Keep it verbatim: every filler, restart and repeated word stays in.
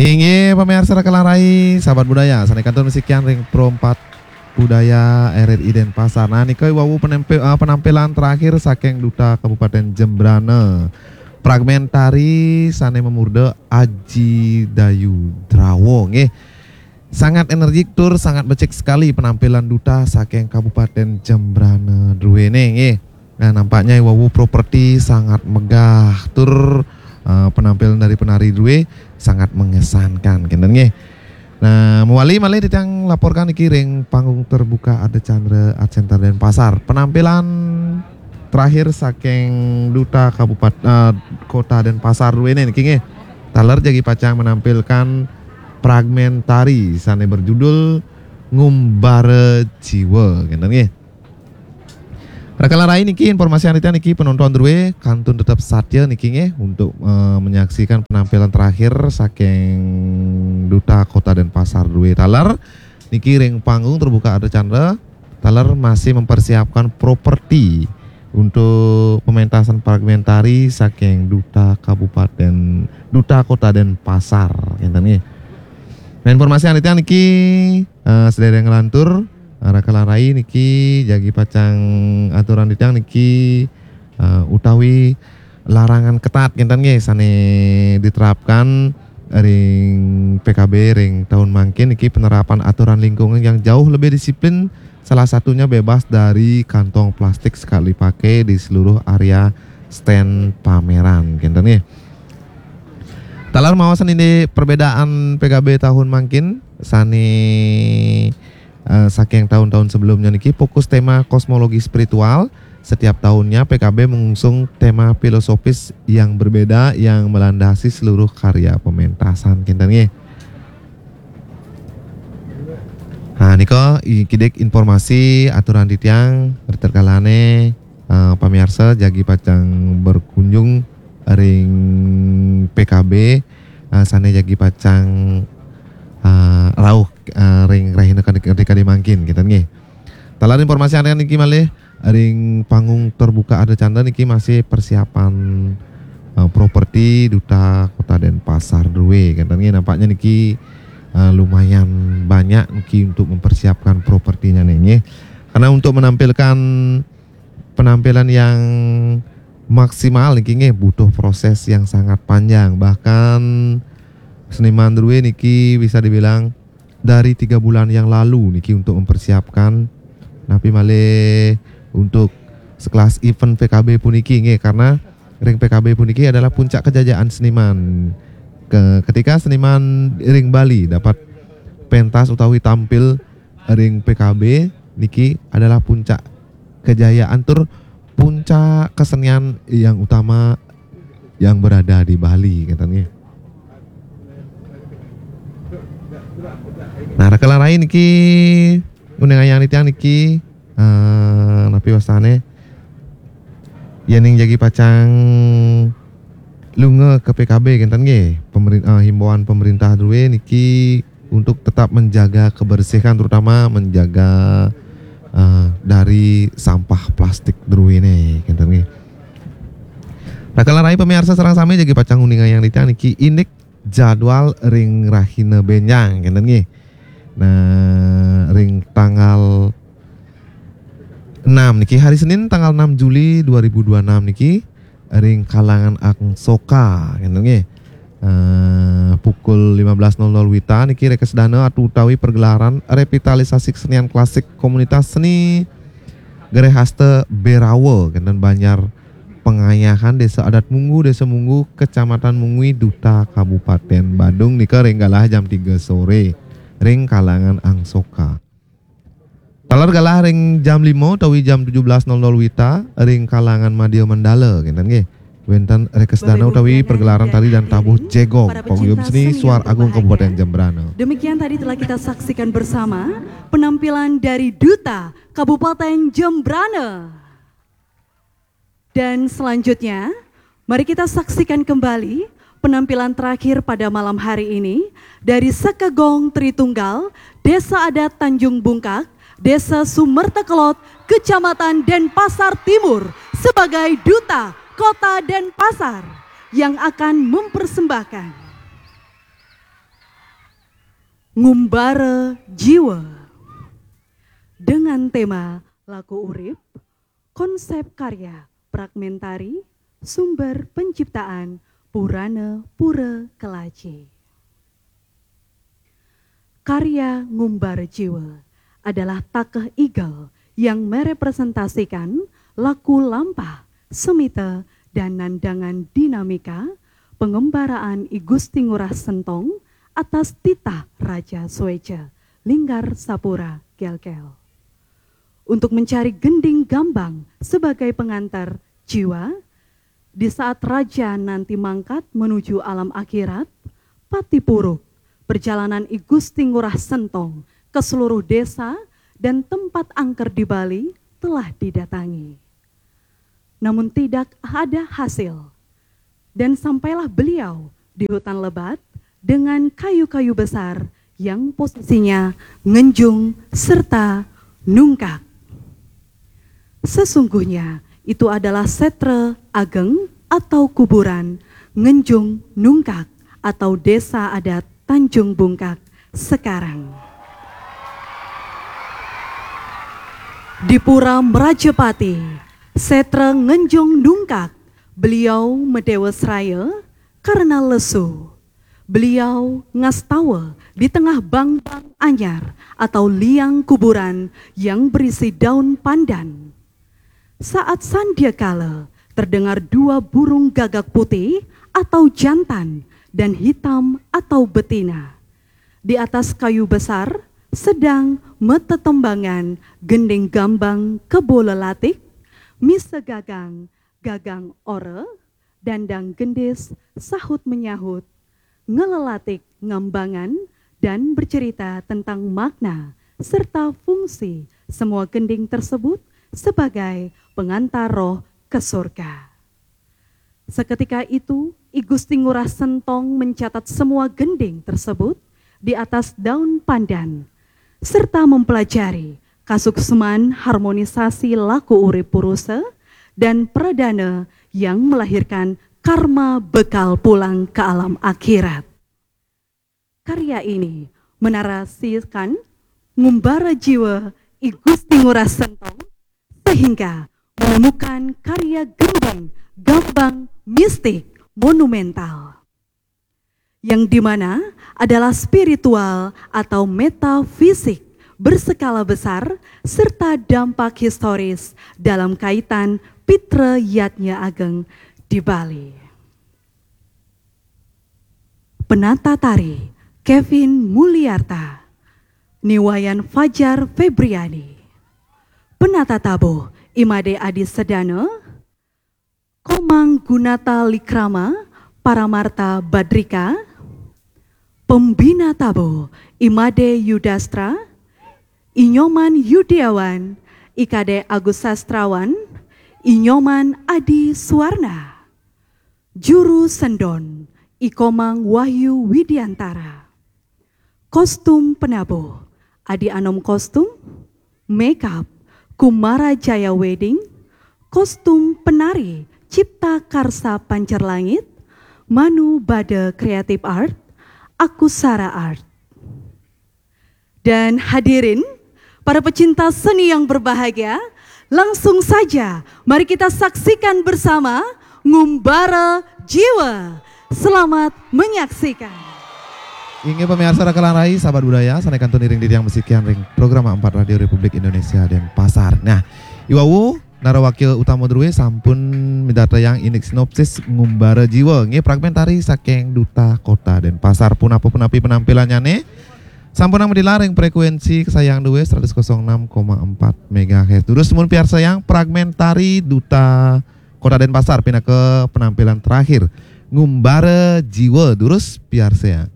Inggih, pamiarsa Raka lan Rai, sahabat budaya, sané kantun masikian ring Pro empat Budaya R R I Denpasar. Nah, nika wau penempe-, eh, penampilan terakhir saking Duta Kabupaten Jembrana. Fragmentari sané mamurda Aji Dayu Drawa, nggih. Sangat energik tur sangat becik sekali penampilan duta saking Kabupaten Jembrana druéné, nggih. Nah, nampaknya wau properti sangat megah tur, eh, penampilan dari penari drué sangat mengesankan, kénten nggih. Nah, mawali malih titiang laporkan iki ring panggung terbuka Ardha Candra Art Center Denpasar. Penampilan terakhir saking Duta Kabupat-, eh, Kota Denpasar druéné niki nggih. Taler jagi pacang menampilkan fragmentari sané berjudul Ngumbara Jiwa, kénten nggih. Raka lan Rai, niki informasi ané titiang niki, penonton drué kantun tetep satia niki nggih untuk, eh, menyaksikan penampilan terakhir saking Duta Kota Denpasar drué taler. Niki ring panggung terbuka Ardha Candra taler masih mempersiapkan properti untuk pementasan fragmentari saking Duta Kabupaten, Duta Kota Denpasar, kénten nggih. Nah, informasi ané titiang niki, eh, sedereng nglantur, eh, Raka lan Rai, niki jagi pacang aturan titiang niki, eh, utawi larangan ketat, kénten nggih, sané diterapkan ring P K B ring tahun mangkin niki, penerapan aturan lingkungan yang jauh lebih disiplin, salah satunya bebas dari kantong plastik sekali pakai di seluruh area stand pameran, kénten nggih. Taler maos indik perbedaan P K B tahun mangkin sané, eh, saking tahun-tahun sebelumnya niki, fokus tema kosmologi spiritual. Setiap tahunnya P K B mengusung tema filosofis yang berbeda yang melandasi seluruh karya pementasan, kénten nggih. Nah, nika i-, kidik informasi aturan titiang, ritatkalané, eh, pamiarsa jagi pacang berkunjung ring P K B, eh, sané jagi pacang, eh, rauh, eh, ring rahina kadi, kadi, kadi mangkin, kénten nggih. Taler informasi ané niki malih, ring panggung terbuka Ardha Candra niki masih persiapan, eh, properti Duta Kota Denpasar drué, kénten nggih. Nampaknya niki, eh, lumayan banyak niki untuk mempersiapkan propertinya nih, nggih. Karena untuk menampilkan penampilan yang maksimal niki nggih butuh proses yang sangat panjang. Bahkan seniman drué niki bisa dibilang dari tiga bulan yang lalu niki untuk mempersiapkan, napi malih untuk sekelas event P K B puniki nggih, karena ring P K B puniki adalah puncak kejayaan seniman. Ke-, ketika seniman ring Bali dapat pentas utawi tampil ring P K B niki adalah puncak kejayaan tur puncak kesenian yang utama yang berada di Bali, katanya. Nah, Raka lan Rai niki nguningayang titiang niki, eh, napi wastané, yéning jagi pacang lunga ke P K B, kénten nggih. Pemerin-, eh, himbauan pemerintah drué niki untuk tetap menjaga kebersihan, terutama menjaga, eh, dari sampah plastik druéné, kénten nggih. Raka lan Rai pamiarsa sareng sami jagi pacang nguningayang titiang niki indik jadwal ring rahina bénjang, kénten nggih. Nah, ring tanggal enam niki, hari Senin tanggal enam Juli dua ribu dua enam niki, ring kalangan Angsoka, kénten nggih. Eh, pukul lima belas nol nol wita niki rekesdana atu utawi pergelaran revitalisasi kesenian klasik komunitas seni Gerehasta Berawa, kénten, Banjar Pengayahan, Désa Adat Munggu, Désa Munggu, Kecamatan Mungwi, Duta Kabupaten Badung, nika ring galah jam tiga soré ring kalangan Angsoka. Taler galah ring jam lima utawi jam tujuh belas nol nol wita ring kalangan Madya Mandala, kénten nggih. Wénten rekesdana utawi pergelaran tari dan tabuh jegog, Paguyuban Seni Suar Agung Kabupaten Jembrana. Demikian tadi telah kita saksikan bersama penampilan dari Duta Kabupaten Jembrana. Dan selanjutnya, mari kita saksikan kembali penampilan terakhir pada malam hari ini dari Sekegong Tritunggal, Desa Adat Tanjung Bungkak, Desa Sumerta Kelot, Kecamatan Denpasar Timur, sebagai Duta Kota Denpasar yang akan mempersembahkan. Ngumbara Jiwa. Dengan tema Laku Urip, konsep karya fragmentari, sumber penciptaan Purana Pura Kelaji. Karya Ngumbara Jiwa adalah takeh igel yang merepresentasikan laku lampah, semita, dan nandangan dinamika pengembaraan I Gusti Ngurah Sentong atas titah Raja Sueja, Linggar Sapura Gelgel. Untuk mencari gending gambang sebagai pengantar jiwa, di saat raja nanti mangkat menuju alam akhirat, pati puruk perjalanan I Gusti Ngurah Sentong ke seluruh desa dan tempat angker di Bali telah didatangi. Namun tidak ada hasil. Dan sampailah beliau di hutan lebat dengan kayu-kayu besar yang posisinya ngenjung serta nungkak. Sesungguhnya itu adalah setra ageng atau kuburan Ngenjung Nungkak atau Desa Adat Tanjung Bungkak sekarang. Di Pura Merajapati, setra Ngenjung Nungkak, beliau medewa seraya karena lesu. Beliau ngastawa di tengah bangbang anyar atau liang kuburan yang berisi daun pandan. Saat sandiakala, terdengar dua burung gagak putih atau jantan dan hitam atau betina. Di atas kayu besar sedang metetembangan gending gambang kebo lelatik, misa gagang, gagang ora, dandang gendis, sahut menyahut, ngelelatik ngambangan, dan bercerita tentang makna serta fungsi semua gending tersebut sebagai pengantar roh ke surga. Seketika itu, I Gusti Ngurah Sentong mencatat semua gending tersebut di atas daun pandan, serta mempelajari kasukseman harmonisasi laku urip purusa dan pradana yang melahirkan karma bekal pulang ke alam akhirat. Karya ini menarasikan ngumbara jiwa I Gusti Ngurah Sentong sehingga menemukan karya gending gambang mistik monumental, yang dimana adalah spiritual atau metafisik berskala besar serta dampak historis dalam kaitan Pitra Yadnya Ageng di Bali. Penata tari Kevin Mulyarta, niwayan Fajar Febriani. Penata tabuh Imade Adi Sedana, Komang Gunata Likrama, Paramarta Badrika. Pembina tabuh Imade Yudastra, Inyoman Yudiawan, Ikade Agus Sastrawan, Inyoman Adi Suwarna. Juru sendon, Ikomang Wahyu Widiantara. Kostum penabuh, Adi Anom Kostum. Makeup, Kumara Jaya Wedding. Kostum penari, Cipta Karsa Pancar Langit, Manu Bada Creative Art, Akusara Art. Dan hadirin, para pecinta seni yang berbahagia, langsung saja mari kita saksikan bersama Ngumbara Jiwa. Selamat menyaksikan. Inggih pamiarsa raka langrai, sahabat budaya, sané kantun iring titiang masikian ring Program empat Radio Republik Indonesia Denpasar. Nah, i wau Nara Wakil Utama Drue sampun midartayang indik sinopsis Ngumbara Jiwa, nggih, fragmentari saking Duta Kota Denpasar. Punapa punapi penampilannyané? Sampunang madilar ring frekuensi kesayangan Drue seratus kosong enam koma empat megahertz. Durus mun piarsayang fragmentari Duta Kota Denpasar pinaka penampilan terakhir Ngumbara Jiwa. Durus piarsayang.